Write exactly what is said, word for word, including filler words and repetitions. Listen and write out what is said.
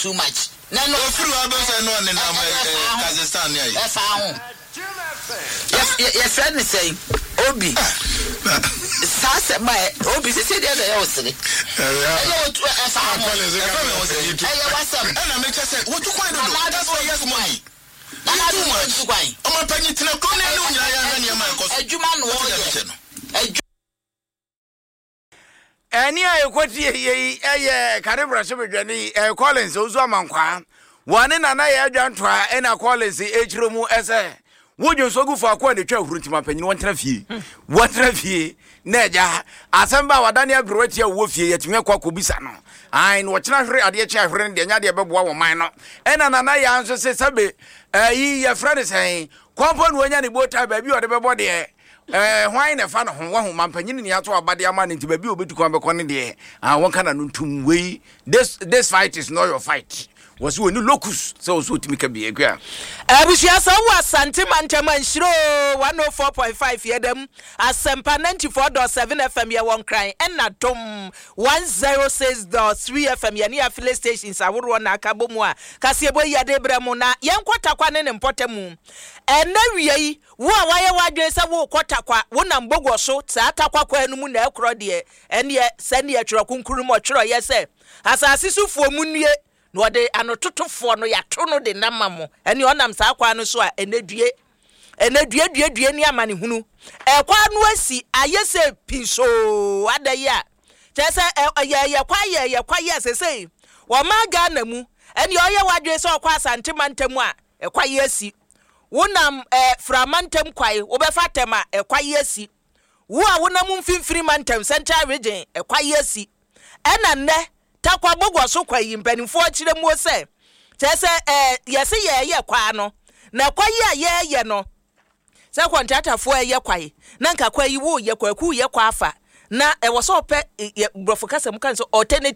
Too much. Na no Ofiri hɔ abɛsɛ no ɔne nam Kazakhstan ne ayi. Ɛfa ho. Yɛfrɛ ne sɛn? Obi saa sɛm a obi sisi deɛ na ɛyɛ wo sere, ɛyɛ otu, ɛfa ho, ɛyɛ wasɛm. Ɛna mekyɛ sɛ wotu kwan dodo. That's why yes money. Nana too much. Kwan. Ɔmo panyin tena kuro ne ne wo nyinaa yɛahwɛ nneɛma a ɛkɔ so. Adwuma na wɔyɛ no. Adwuma. Ɛne a ɛkɔtie yei ɛyɛ kane brɛhyɛbadwani ɛyɛ Collins Owusu Amankwaa wɔne Nana Yɛ Adwantoa. Ɛna Collins ɛkyerɛ mu ɛsɛ wodwo nso gu faako a ne twa ahuru, ntima panyin wɔntena fie, wɔntena fie na agya asɛm ba a wadane aberewa tia wɔ fie, yɛtumi akɔ akɔbisa no ai na wɔkyena hwere adeɛ kye ahwere no deɛ nya deɛ bɛboa wɔ man no. Ɛna Nana Yɛ nso se sɛbe ɛyi yɛfrɛ no sɛn kɔmpɔ na wanya ne botae baabi a ɔde bɛbɔ deɛ ɛɛ hwan na ɛfa ne ho wahu mampanyini ne ato abade ama ne, nti baabi a obɛtu kwan bɛkɔ ne deɛ ah, wɔnka na no ntum. Wei this this fight is not your fight. Wɔsi wɔ ni locus sɛ wɔsi otumi ka bi ekua. Abusua, sɛ wowɔ Asante mantam a, nhyiro one oh four point five yɛdam, Asɛmpa ninety-four point seven F M yɛwɔ Nkran, ɛna Dom one oh six point three F M. Yɛne affiliate stations ahoroɔ na aka bɔ mu a kaseɛbɔ yi yɛde brɛ mu. Na yɛnkɔ Takwa ne ne mpɔta mu. Ɛnɛ wie yi, wo a wayɛ w'adwene sɛ wokɔ Takwa, wonam Bogɔ so saa Takwa kwan no mu na ɛkorɔ deɛ, ɛneɛ sɛneɛ Twerɛ Kronkron mu ɔtwerɛyɛ sɛ asase sofoɔ mu nnue na ɔde anototofoɔ no yɛato no de nam ma mo. Ɛne ɔnam saa kwan no so a, ɛnɛ due, ɛnɛ due due due ne amanehunu. Ɛkwan no asi ayɛ sɛ pinsoo ada yi a kyerɛ sɛ ɛyɛ yɛ kwa yɛ yɛ kwa yɛ sesei wɔma Ghana mu. Ɛne ɔyɛ w'adwene sɛ ɔkɔ Asante mantam a, ɛkwa yɛ asi. Wonam ɛɛ Frama ntam kwae, wobɛfa tɛm a, ɛkwa yɛ asi. Wo a wonam Mfimfini mantam, Central Region, ɛkwa yɛ asi. Ɛna nnɛ Takwa Bogɔ so kwa yi, mpanimfoɔ kyerɛ muo sɛ kyerɛ sɛ ɛɛ yɛsɛ yɛɛyɛ kwaa no na kwa yi a yɛɛyɛ no sɛ kɔntratafoɔ ɛyɛ kwae na nka kwa yi woyɛ kwaku yɛ kwa afa na ɛwɔ sɛ ɔpɛ yɛ borɔfo kasa mu kan sɛ alternative.